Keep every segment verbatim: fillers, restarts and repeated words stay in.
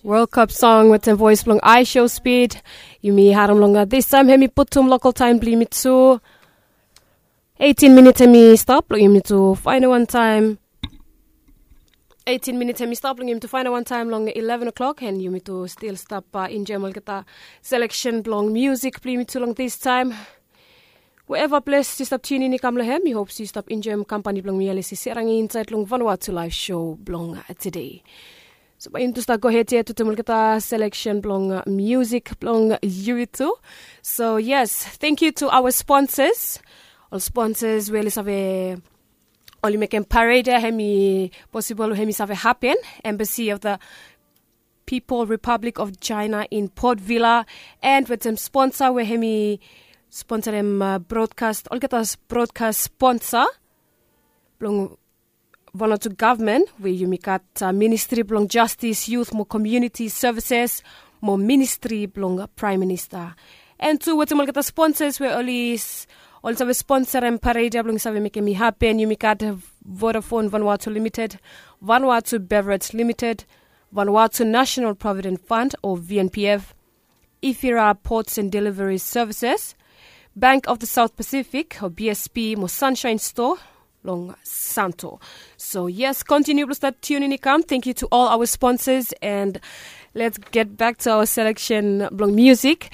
World Cup song wetem voes blong Aisho Speed. Yumi harim long distaem, hemi putum lokal taem blong yumi tu. Eitin minit hemi stap long yumi tu faenem wantaem. Eitin minit hemi stap long yumi tu faenem wantaem long eleven o'clock, and yumi tu stil stap enjoem olgeta seleksen blong musik blong yumi tu long distaem. Wherever ples yu stap tunin i kam long hem, mi hop yu stap enjoem kampani blong mi, Alisi Serangi, insaed long Vanuatu Live Show blong tede. So bae yumi tu stap gohed yet wetem olgeta seleksen blong musik blong yumi tu. So yes, thank you to our sponsors. Ol sponsors we oli save, oli mekem parade ya hemi posibol, hemi save hapen. Embassy of the People Republic of China in Port Vila, and wetem sponsa we hemi sponsarim brodkas, olgeta brodkas sponsa blong Vanuatu gavman, we yumi gat Ministri blong Jastis, Yut mo Komuniti Sevises mo Ministri blong Praem Minista. And tu wetem olgeta sponsas we oli save sponsarim parade ya blong save mekem i hapen, yumi gat Vodafone Vanuatu Limited, Vanuatu Beverage Limited, Vanuatu National Provident Fund o V N P F, Ifira Ports and Delivery Services, Bank of the South Pacific o B S P mo Sunshine Store long Santo. So yes, kontiniu blong stap tunin i kam. Thank you to all our sponsors, and let's get back to our selection blong musik.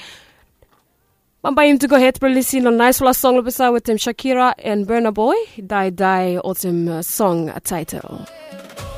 Bambae yumi tu gohed blong lisin long naesfala song long pesa wetem Shakira and Burna Boy, Dae Dae, olsem song taetel.